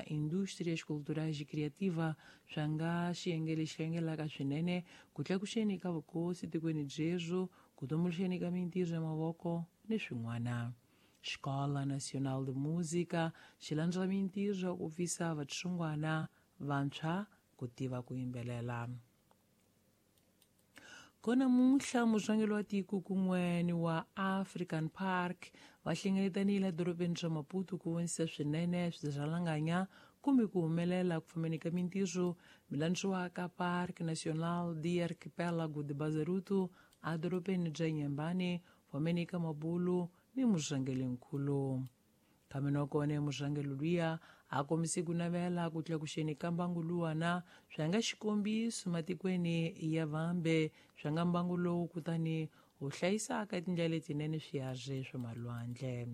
Indústrias Culturais e Criativa swa nga xiyenge lexi hlengelaka swinene ku tlakuxeni ka vukosi tikweni byebyo, ku tumbuluxeni ka mintirho ya mavoko ni swin'wana. Escola Nacional de Música xi landzela mintirho ya ku pfisa vatsongwana vantshwa ku tiva ku yimbelela. Kona namuntlha murhangeri wa tiko kun'we ni wa African Park va hlengeletanile edorobeni ra Maputo ku vonisisa swinene swirhalanganya kumbe ku humelela ku fambeni ka mintirho milandziwaka Parque Nacional de Arquipélago de Bazaruto edorobeni bya Inhambane fambeni ka mabulu ni murhangerinkulu. Kambe nakona murhangeri luya a kombise ku navela ku tlakuxeni ka mbangu luwana swa nga xikombiso matikweni ya vambe swa nga mbangu lowu kutani wu hlayisaka tindlela letinene swiharhi swa malwandle.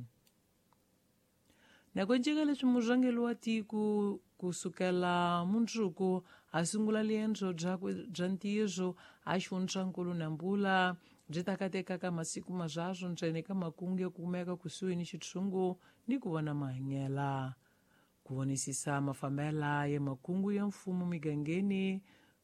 Nako nceka leswi murhangeri wa tiko kusukela mundzuku a sungula riendzo byakwe bya ntirho a xifundzankulu Nampula byi ta katekaka masiku marharhu ntsena eka makungu ya kumeka kusuhi ni xitshungu ni ku vona mahanyela, ku vonisisa mafambela ya makungu ya mfumo migangeni,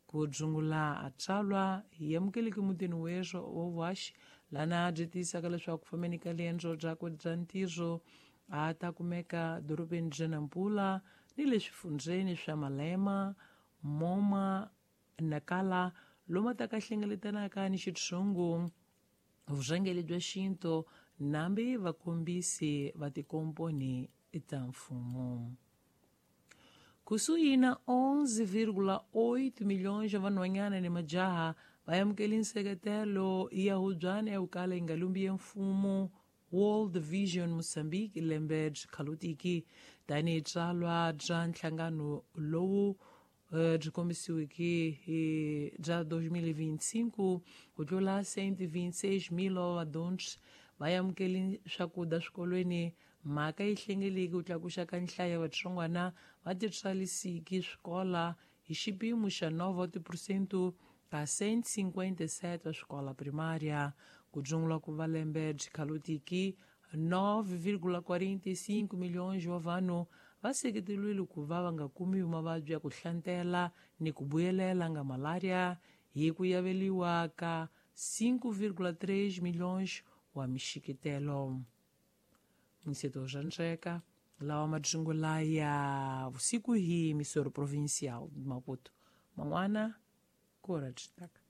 ku dzungula atsalwa hi amukeleki mutini weswo wa Wash lana byi tiyisaka leswaku fambeni ka riendzo byakwe bya ntirho a ta kumeka dorobeni bya Nampula ni le swifundzeni swa Malema, Moma, Nakala lomu a ta ka hlengeletanaka ni xitshungu, vurhangeri bya xintu nambi vakombisi va tikomponi ta mfumo. Kusuhi na 11,8 milhões ya vanhwanyana ni majaha va amukele nseketelo ya hubyana ya ku kala yi nga lumbi ya mfumo World Vision Mozambique lembe byi khalutiki tanihi tsalwa bya nhlangano lowu byi kombisiweke hi bya 2025 ku tlula 126 mil wa vadyondzi va amukele swakudya swikolweni. Mhaka yi hlengeleki ku tlakuxa ka nhlayo ya vatsongwana va titswalisiki swikola hi xipimo xa 9 tiphesente ka 157 wa swikola primária ku dzungula ku va lembe byi khalutiki 9,45 milhões wa vanhu va seketeriwile ku va va nga kumiwi mavabyi ya ku hlantela ni ku vuyelela nga malaria hi ku yaveliwa ka 5,3 milhões wa mixikitelo. Mwiseto swa ntsweka lawa madzungula ya vusiku hi Missouri Provincial Maputo man'wana ku ra byi taka.